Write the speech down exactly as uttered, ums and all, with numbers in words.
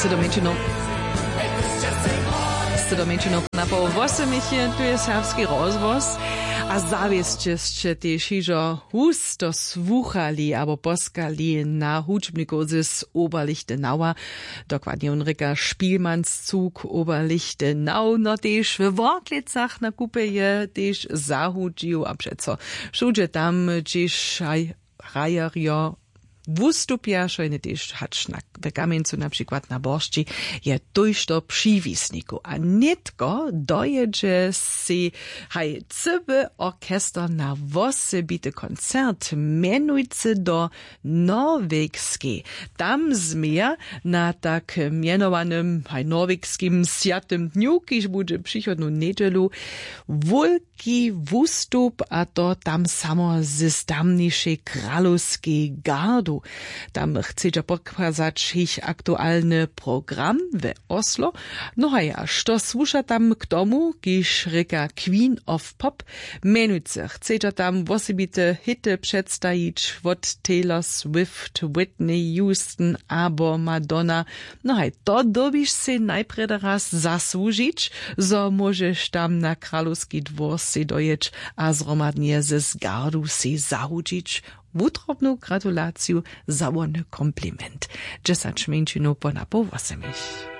Sydom mjeńšinow sydom mjeńšinow na poł wósymich je tu je serbski rozhłos. A zawěsće sće tež hižo husto słuchali abo poskali na hudźbnikow z oberlichtenauer. Dokładnje wón rěka špilmanszuk oberlichtenau no tež we worklecach na kupje je tež zahudźił a přeco wšudźe tam hdźež hrajerjo wustupja šojne tež hač na w kamjencu na přikład na boršći je tójšto přiwisnikow a nětko dojědźe sej haj cyły orchester na wosebity koncert mjenujcy do norwegskej. Tam změja na tak mjenowanym haj norwegskim swjatym dnju kiž budźe přichodnu njedźelu wulki wustup a to tam samo z tamnišej kralowskej gardu. Tam chcedźa pokazać jich aktualny program we oslo. No a ja što słuša tam k tomu kiž rěka queen of pop mjenujcy chcedźa tam wosebite hity předstajić wot taylor swift whitney houston abo madonna. No haj to dyrbiš sej najprjedy raz zasłužić zo móžeš tam na kralowski dwór sej dojěć a zhromadnje z gardu sej zahudźić. Wutrobnu gratulaciju za wony kompliment. Dźesać mjeńšinow po napoł wósymich.